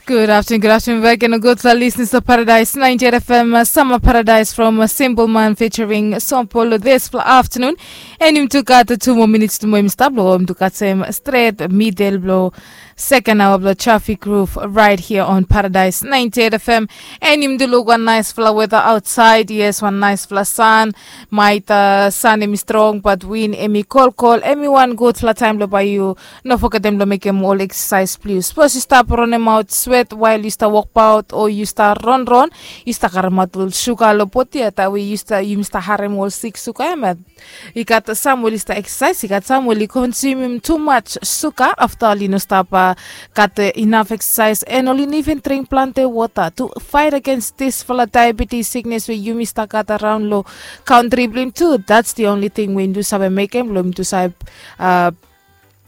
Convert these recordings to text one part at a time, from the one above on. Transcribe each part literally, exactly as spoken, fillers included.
Good afternoon, good afternoon back and a good for listeners of Paradise ninety-eight F M, uh, Summer Paradise from uh, Simple Man featuring Sompolo this for afternoon. And him took out the two more minutes to him stop blow him took out same straight middle blow. Second hour blow traffic roof right here on Paradise ninety-eight F M. And him do look one nice flower weather outside. Yes, one nice flower sun. Might uh, sun him strong, but wind him cold cold. Him one good flower time blow by you. No forget dem lo mekem ol exercise plis. Sapos yu stap ronemaot swet wael yu stap wokbaot o yu stap ronron, yu stap karemaot ol suga lo bodi ya, dat we yu stap, yu stap harem ol sik suga ya, man. I gat sam we oli stap exercise, i gat sam we oli konsumim tumaj suga afta oli no stap uh, gat uh, inaf exercise and oli no even dring plante wota to fight against disfala diabetes siknes we yumi stap gat araon lo kantri blong tu. That's the only thing we yumi tu save mekem lo yumi tu save uh,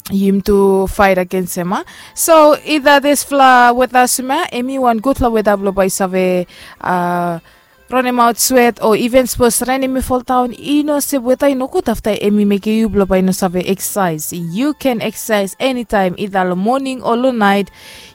yumi tu fight against him, huh? So either this flower weather suma, emi one good flower weather blow by save uh, running out sweat or even suppose rain emi fall down. I no se weather i no good after emi make you blow by no save exercise. You can exercise anytime, either lo morning or lo night.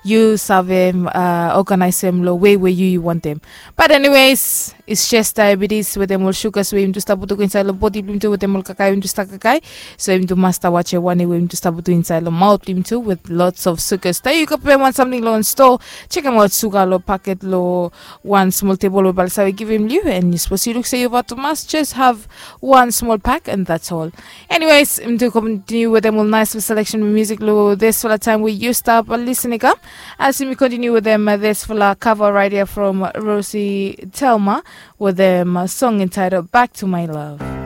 You save um, uh, organize them lo way where you, you want them. But anyways, it's just diabetes with them all sugars we him to start to go inside the body blim to with them all kakai him to start kakai. So him to master watch a one way him to start to inside the mouth blim to with lots of sugars. There you go pay one something lo store. Check him out sugar lo packet lo one small table we balsa we give him you and you suppose you look say you about to must just have one small pack and that's all. Anyways, him to continue with them all nice selection of music lo this for the time we used up listening up. As we continue with them uh, this for the cover right here from Rosie Telma with them a song entitled Back to My Love.